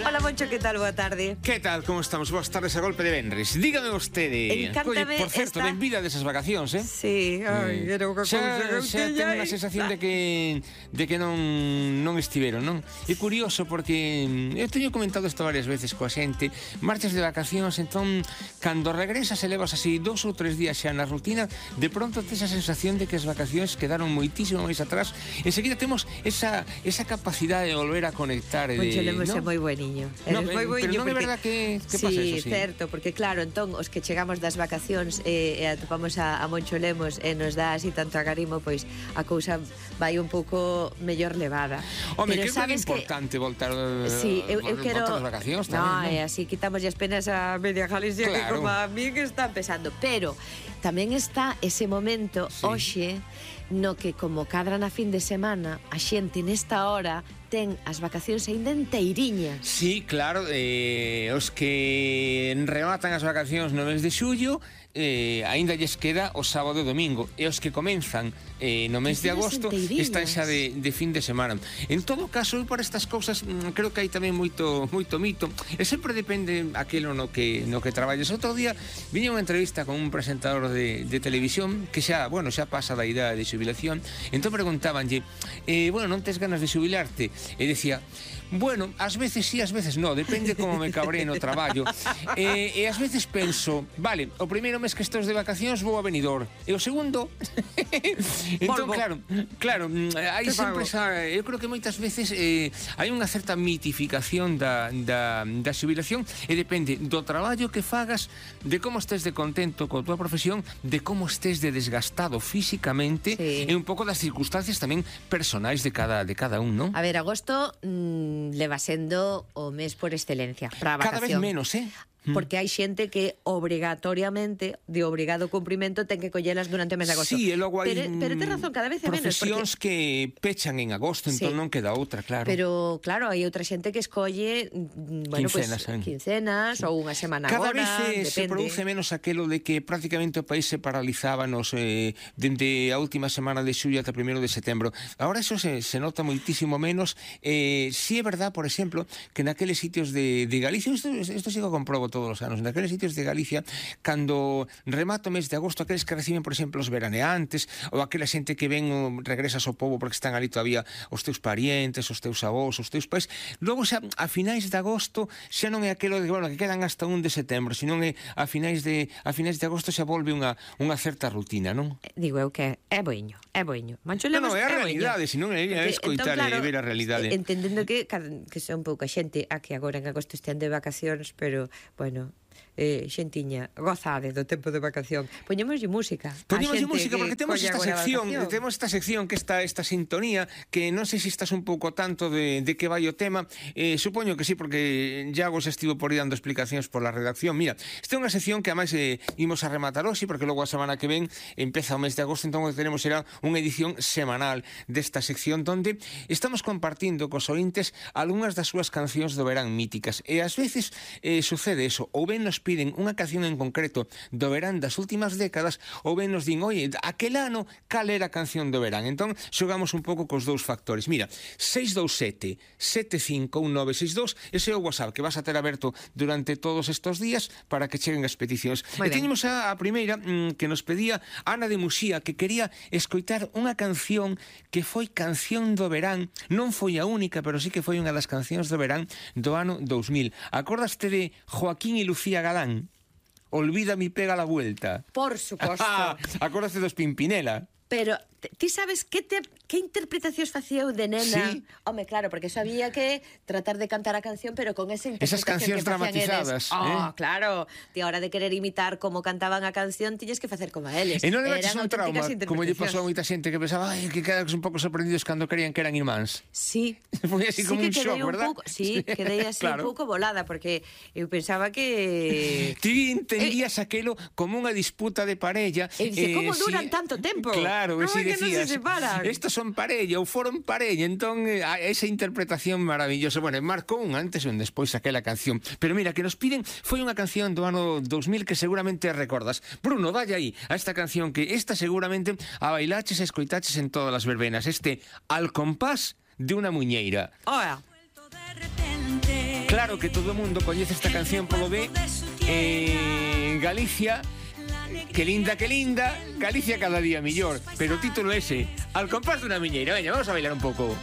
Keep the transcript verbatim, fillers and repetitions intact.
Hola, Moncho, que tal? Boa tarde. Que tal, como estamos? Boas tardes a golpe de venres. Dígame vostede. Encántame. Oye, por certo, esta... ben vida desas vacacións, eh? Sí, ai, eh, era unha xa, cousa xa ten unha sensación de que de que non non estiveron, non? É curioso porque eu teño comentado isto varias veces coa xente. Marchas de vacacións, entón cando regresas e levas así dous ou tres días xa na rutina, de pronto tes a sensación de que as vacacións quedaron moitísimo máis atrás. Enseguida temos esa esa capacidade de volver a conectar. Moncho Lemos ¿no? é moi bueniño. No, moi pero non é verdad que, que sí, pasa eso, sí. certo, porque claro, entón os que chegamos das vacacións e, e atopamos a, a Moncho Lemos e nos dá así tanto agarimo, pois a cousa vai un pouco mellor levada. Home, pero que sabes é importante que... voltar, sí, eu, eu quero... voltar as vacacións tamén, no, non? e así quitamos as penas a media Galicia, claro, que como a mí que está empezando, pero tamén está ese momento, sí, hoxe, no que como cadra na fin de semana a xente nesta hora ten as vacacións aínda enteiriñas. Sí, claro, eh, os que rematan as vacacións no mes de xullo, eh, aínda lles queda o sábado e domingo, e os que comenzan eh, no mes de agosto están xa de, de fin de semana. En todo caso, eu para estas cousas creo que hai tamén moito moito mito, e sempre depende aquilo no que no que traballes. Outro día viña unha entrevista con un presentador de, de televisión que xa, bueno, xa pasa da idade de xubilación, entón preguntábanlle, eh, bueno, non tes ganas de xubilarte? E decía, bueno, ás veces sí, ás veces no, depende como me cabré no traballo. E, e ás veces penso, vale, o primeiro mes que estou de vacacións vou a Benidorm, e o segundo... entón, claro, claro, hai sempre esa... Eu creo que moitas veces eh, hai unha certa mitificación da, da, da xubilación, e depende do traballo que fagas, de como estés de contento coa tua profesión, de como estés de desgastado físicamente, sí, e un pouco das circunstancias tamén personais de cada, de cada un, non? A ver, agosto mmm, leva sendo o mes por excelencia para a vacación. Cada vez menos, eh? Porque hai xente que obrigatoriamente, de obrigado cumprimento, ten que collelas durante o mes de agosto. Sí, e logo hai pero, pero ten razón, cada vez é menos. Profesións porque... que pechan en agosto, entón sí, non queda outra, claro. Pero, claro, hai outra xente que escolle bueno, quincenas, pues, quincenas, sí, ou unha semana cada agora, vez eh, se depende. produce menos aquelo de que prácticamente o país se paralizaba nos, eh, dende a última semana de xullo ata primeiro de setembro. Ahora eso se, se nota moitísimo menos. Eh, si é verdad, por exemplo, que naqueles sitios de, de Galicia, isto, isto sí que comprobo todos os anos, naqueles sitios de Galicia, cando remata o mes de agosto, aqueles que reciben, por exemplo, os veraneantes, ou aquela xente que ven o regresas ao pobo porque están ali todavía os teus parientes, os teus avós, os teus pais, logo xa a finais de agosto xa non é aquelo de, bueno, que quedan hasta un de setembro, senón é a finais de a finais de agosto xa volve unha unha certa rutina, non? Digo eu que é boiño, é boiño. Mancho Lemos, no, no, é a é realidade, senón é a escoitar entón, claro, e ver a realidade. Entendendo que que son pouca xente a que agora en agosto estean de vacacións, pero, bueno, eh, xentiña, gozade do tempo de vacación. Poñémoslle música. Poñémoslle música porque temos esta sección, temos esta sección que está esta sintonía que non sei se estás un pouco tanto de, de que vai o tema. Eh, supoño que sí, porque Iago xa estivo por aí dando explicacións por la redacción. Mira, esta é unha sección que ademais eh, imos a rematar hoxe, porque logo a semana que ven empeza o mes de agosto, entón o que tenemos será unha edición semanal desta sección donde estamos compartindo cos ointes algunhas das súas cancións do verán míticas. E ás veces eh, sucede eso, ou ben nos piden unha canción en concreto do verán das últimas décadas, ou ben nos din, oye, aquel ano, cal era a canción do verán? Entón, xogamos un pouco cos dous factores. Mira, seis dous sete, sete cinco un nove seis dous, ese é o WhatsApp que vas a ter aberto durante todos estes días para que cheguen as peticións. E teñemos a, a primeira mmm, que nos pedía Ana de Muxía, que quería escoitar unha canción que foi canción do verán, non foi a única, pero sí que foi unha das cancións do verán do ano dous mil. Acordaste de Joaquín e Lucía Galán? Olvida mi pega la vuelta. Por suposto. Acordaste dos Pimpinela? Pero ti sabes que te que interpretacións facía eu de nena? Sí. Home, claro, porque eso había que tratar de cantar a canción, pero con esa interpretación. Esas cancións que dramatizadas, eles. Oh, eh? claro. Ti a hora de querer imitar como cantaban a canción, tiñes que facer como a eles. E non le baches un trauma, como lle pasou a moita xente que pensaba, ai, que quedas un pouco sorprendidos cando creían que eran irmáns. Sí. Foi así sí como un shock, un verdad? Pouco, sí, quedei así claro, un pouco volada, porque eu pensaba que... Ti entendías eh, aquelo como unha disputa de parella. E dice, eh, como duran si, tanto tempo? Claro, no, si decías, no estos son parella ou foron parella, entón eh, esa interpretación maravillosa. Bueno, marcou un antes e un despois aquela canción. Pero mira, que nos piden foi unha canción do ano dous mil que seguramente recordas. Bruno, dalle aí a esta canción que esta seguramente a bailaches e escoitaches en todas as verbenas. Este Al compás de unha muñeira. Oa. De repente Claro que todo o mundo coñece esta canción polo de eh, Galicia, que linda, que linda, Galicia cada día millor. Pero o título ese, Al compás dunha miñeira. Veña, vamos a bailar un pouco.